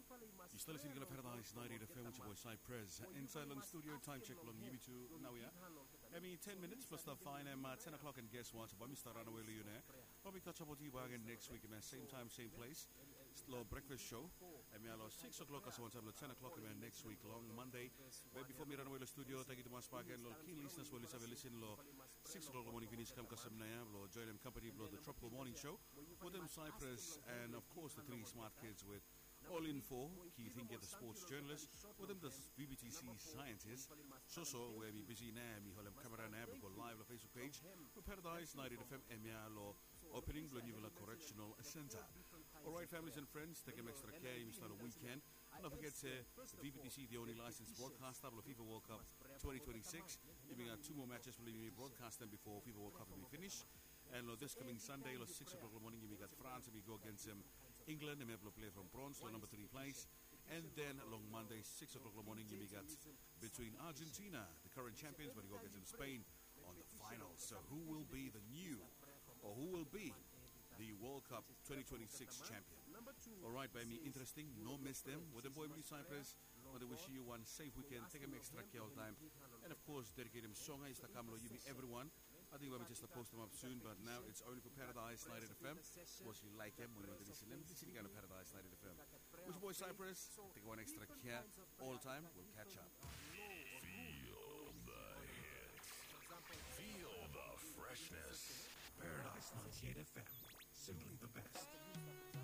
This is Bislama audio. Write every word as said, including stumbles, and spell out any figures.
Yu stap listening long Paradise ninety-eight F M with your boy Cypress. Inside long studio, time check long yumi tu naoia. Hemi ten minutes plus the fine, and uh, ten o'clock, and guess what? Bae mi stap ranawe long yu nao. Bae mi catch up with you again next week, man. Same time, same place. Long breakfast show. Hemia long six o'clock, kasem wantaem long ten o'clock, hemia next week long Monday. Be bifo mi ranawe long studio, tangkiu tumas bakegen long keen listeners we oli save listen long six o'clock long morning finis kam kasem naoia blong joinim company blong the Tropical Morning Show wetem Cypress and of course the three smart kids with All Info, Keith Hingia, the sports journalist, wetem the V B T C scientist, Soso, we hemi bisi nao, hemi holem kamera nao blong go live long Facebook page blong Paradise ninety-eight F M hemia long opening blong niufala correctional center. Alright, families and friends, tekem extra care, yumi stap long weekend. And don't forget se V B T C, the only licensed broadcaster blong FIFA World Cup twenty twenty-six. Yumi gat tu moa matches blong yumi broadcastem bifo FIFA World Cup hemi finis. And long this coming Sunday, long six o'clock long morning, yumi gat France hemi go against um, England, hemia blong play from bronze long number three place. And then long Monday, six o'clock long morning, yumi gat between Argentina, the current champions, bae oli go against um, Spain on the final. So who will be the new, or who will be the World Cup twenty twenty-six champion? Alright, bae mi interesting, no miss dem. Wetem boy blong yu Cypress, bae mi wish yu wan safe weekend, tekem extra care oltaem. And of course, dediketem song ya i stap kam long yumi everyone. Ating bae mi jes stap postem ap soon, but now it's only for Paradise ninety-eight F M. Sapos yu laekem o yu wantem lisenem, lisenem i kam long Paradise ninety-eight F M. With your boy Cypress, tekem wan extra care oltaem, we'll catch up. Feel the hits. Feel the freshness. Paradise ninety-eight F M.